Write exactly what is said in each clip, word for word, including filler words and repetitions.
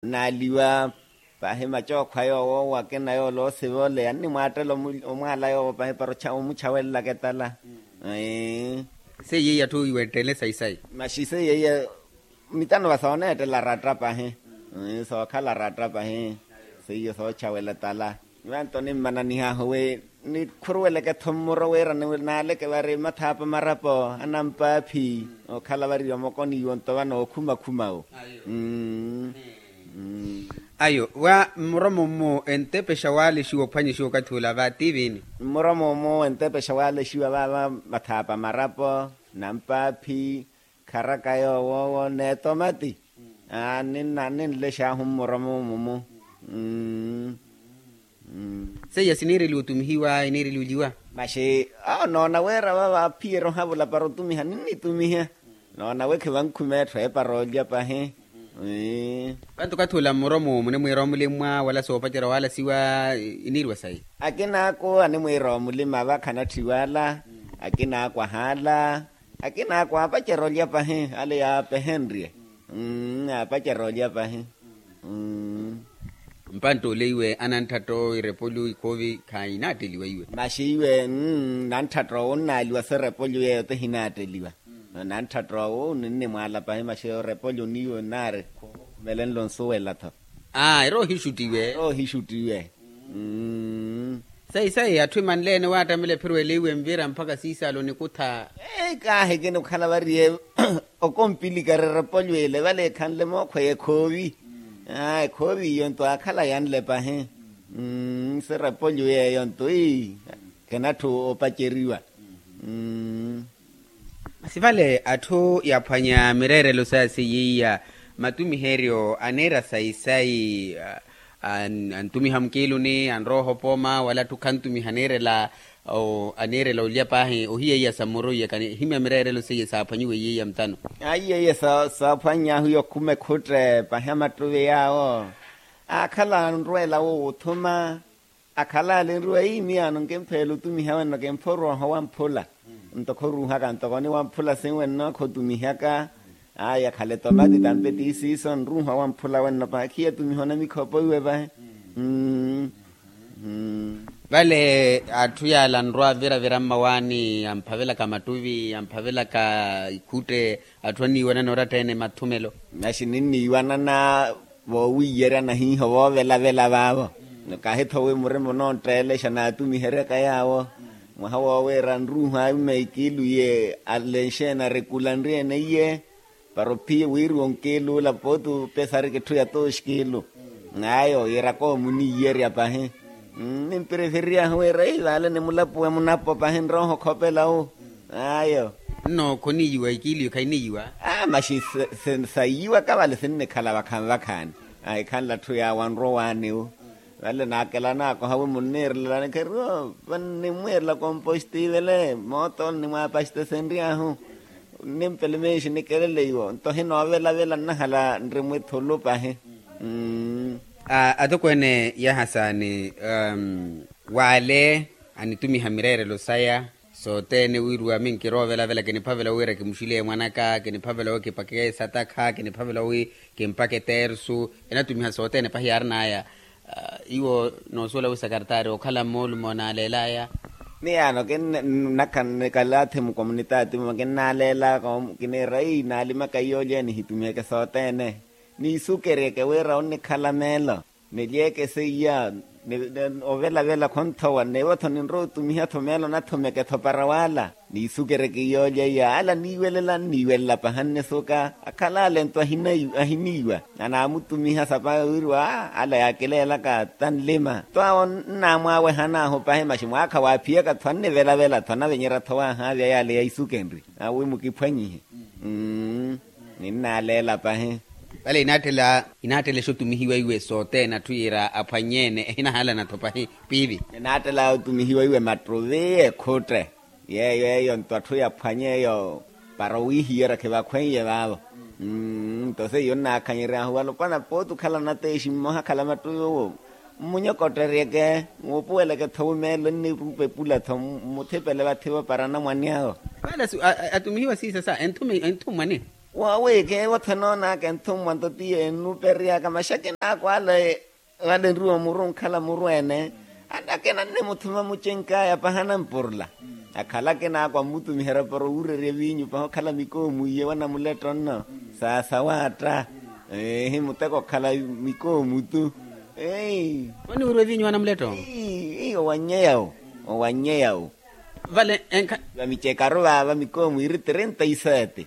Nnaaliwa. Pahi macookhwa yoowo akina yoola osiva ole annimwaattela omwaala yoowo pahi para omuchawelelaka etala. Seiye iya atthu iwetteele sayi sayi. Maxi seiye iya mitano va sooneettela aratta pahi. Sookhala aratta pahi. Seiyo soochawela etala. Vanto nimmananihaahu wi nikhuruweleke-tho mmuro wira naaleke vari mathaapa marapo anampaaphi. Okhala vari omokoniwo nto vano okhuma-khuma wo. Ayo wa mmuromo mmu entepexa waalexiwa ophwanyexiwa okathi ula va ti viini? Mmuromo mmu entepexa waalexiwa vaava mathaapa marapo, nampaaphi, kharaka yoowo n'etomati. Ninlexahu mmuromo mmu. Seiya siniireliwa otumihiwa iniireliwa oliwa? Maxi, noona wira vaava aphiyerya ohavula para otumiha ninnitumiha. Noona wi khivankhume etthu eeparoolya pahi. Vantu okathi ula mmuromo munimwiira omulimwa wala soopacerya waalasiwa? Iniiriwa sayi? Akinaako animwiira omulima vakha anatthiwa ala. Akinaako ahaala. Akinaako aapacerya olya pahi ale yaapehenrye. Aapacerya olya pahi. Mpantta ole iwe anantthatta irepolyo ikhoovi khainaatteliwa iwe? Maxi iwe nantthatowo onnaaliwa so erepolyo yeeyo ti ehinaatteliwa. Nantthatowo ninnimwaala pahi maxi erepolyo niiwe nnaari. Melenlo nsuwela-tho. Aa ero ohixuttiwe. Ero ohixuttiwe. Sayi sayi atthu emanleene waattamela ephiru ele iwe envira mpakha siisaala onikutha. Kaahi kinikhala variye okompilika erepolyo ele vale ekhanle mookhweya ekhoovi. Ekhoovi iyo nto aakhala yanle pahi. Si erepolyo yeeyo nto ii khenatthu opaceriwa. Masi vale atthu yaphwanya mireerelo saya seiya iya matumiheryo aniira sayi sayi. Antumiha mukiiluni anrowa ohopooma wala atthu khantumiha aniirela. Aniirela olya paahi ohiya iya sa mmuro iya kanihimya mireerelo seiya saaphwanyiwe iya iya mutano. Aiya iya saaphwannyahu iya okhuma ekhutte paahi amattuvi yaawo. Aakhala anrweela wo wuthuma. Akhala alinriwa ii miyaano nkimpheela otumiha wenno kimpha orooha owamphula. Nto khoruuhaka ntoko ni wamphula sinwenno khotumihaka. Aya khale tomati tampe ti siiso nruuha wamphula wenno pahi khiyatumiha onamikhopo iwe pahi. Vale atthu yaala anrwa aviravira mmawaani amphavelaka mattuvi amphavelaka ikhutte. Atthu anniiwanana oratta-ene mathumelo. Naxi ninniiwanana voowiiyeryana hiiho voovelavela vaavo. Kahi-tho wi murima onontteelexa naatumiheryaka yaawo. Mwaha woowiira nruuha aima ikiilu iye alenxe-ene arikula nri-ene iye. Para ophiye wiiriwa onkiilu ula pooti opesarika etthu ya tooxkiilu. Ayo yiiraka omuniiyerya pahi. Nimpirefereryaahu wira ii vale ni mulapuwe munapo pahi nroho khopela wu. Ayo. Nno khoniiyiwa ikiiliyo khainiiyiwa? Aa maxi sayiyiwaka vale sinnikhala vakhanvakhaani. Ahikhanle atthu yaawanrwa owaani wu. Vale naakelanaka ohawi munniirelelani kheriwo vannimwiirela komposti vale mooto nnimwaapaxitesenryaahu. Nnimpele meexi nikelele iwo nto hinoovelavela nnahala nri mwithulu pahi. Atokweene yaha saani wale anitumiha mireerelo saya. Sothene wiiriwa minkiroovelavela kiniphavela wira kimuxileye mwanaka kiniphavela wi kipake satakha kiniphavela wi kimpake tersu. Enatumiha sothene pahi yaarinaya. Iwo noosuwela wi sakartaari okhala mmoolumo naaleelaya. Miyaano kinnakha nnikalathi mukomunitaati muma kinnaleelaka. Kiniira ii naalimaka iyoolya nihitumiheke sothene. Niisukeryeke wira onnikhala meelo. Nilyeke seiya. Ovelavela khonthowa nneevo-tho ninrowa otumiha-tho meelo nathumeke-tho para waala. Niisukeryeke iyoolya iya ala niiwelela nniiwelela paha nnisuka. Akhala ale nto ahiniiwa. Anaamutumiha sapa wiiriwa ala yaakileelaka tanlima nto awo nnaamwaawehan'ahu pahi maxi mwaakha waaphiyaka-tho annivelavela-tho anavenyerya-tho waahaavya yaale ya isukenri. Awi mukiphwanyihe. Ninnaleela pahi. Vale inaattela otumihiwa iwe sothene atthu yiira aphwanye-ene ehinahaalana-tho pahi piivi. Ninaattela otumihiwa iwe mattuvi ekhutte. Yeeyo eyo nto atthu yaphwanye eyo para owiihiyerya khivakhweiye vaavo. Nto seiyo nnaakhanyeryahu valopwana pooti okhala nateexi mmoha akhala mattuvi owo mmunyokotteryeke. Wuupuweleke-tho wi meelo nnirupa epula-tho mmuthipele vathi-vo para anamwane awo. Vale atumihiwa siisa sa enthu mmwani. Woowi keevo tho noonaka enthummwa nto tiye ennuperyaka maxakina akwaala. Vale nruwo muru nkhala muru ene. Anakina nne muthuma mucenkaya pahana mpurula. Akhala akina akwa mmutumiherya para owurerya evinyu paha okhala mikoomu iye wanamuletto nno. Saasa waatta. Eehi muteko okhala mikoomu tu. Ei. Oniwurwa evinyu wanamuletto? Ei, ei owannyeyau. Owannyeyau. Vale enkha. Vamicekaru vaava mikoomu iri trinta y sete.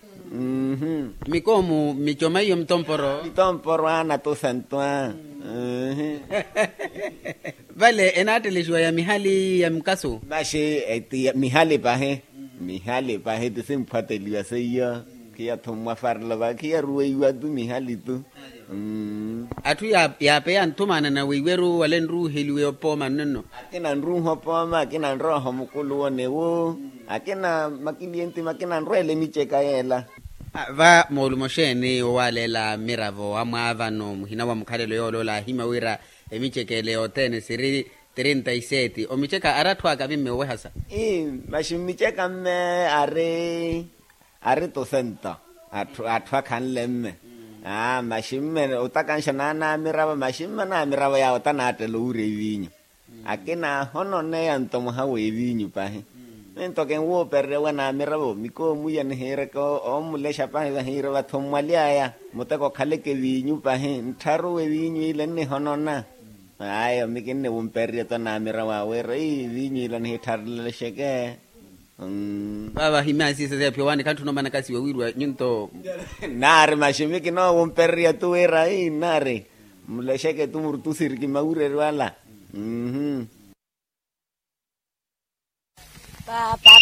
Mikoomu micoma iyo mitomporo. Mitomporo ana tosantwa. Vale enaattelesiwa ya mihali ya mukasu. Maxi mihali pahi. Mihali pahi ti simphwatteliwa seiyo. Khiya tho mmwafarelo va khiya ruweiwa tu mihali tu. Atthu yaapeya nthumaana na weiweru wale nruuheliwe opooma nnonno. Akina nruuha opooma akina nrooha omukuluwo newo. Akina makiliyenti makina nrweela emiceka yeela. Va moolumo xeeni owaaleela mmiravo amwaavano muhina wa mukhalelo yooloola ahima wira emiceka ele yothene siri trinta y sete omiceka ari atthu akavi mme owehasa. Ii maxi mmiceka mme ari ari tosento atthu akhanle mme. Aa maxi mme otakanxa naanamiravo maxi mme anaamiravo yaawo tanaattela owurya evinyu. Akina ahononeya nto mwaha w'evinyu pahi. Minto kinwuupererya wanamiravo mikoomu iya nihiireke omulexa pahi vahiire vathu mwaly'aya. Muteko okhaleke evinyu pahi nttharu w'evinyu ile nnihonona. Aya mi kinniwumpererya to namiravo awe wira evinyu ile nihittharelelexeke. Vaava himaasiisa seephiya owaani khantthu noomana kasi wawirwa nyunto. Nnaari maxi mi kinoowumpererya tu wira ii nnaari mulexeke tu murutusiriki mawureryo ala. Mmm. Paapa.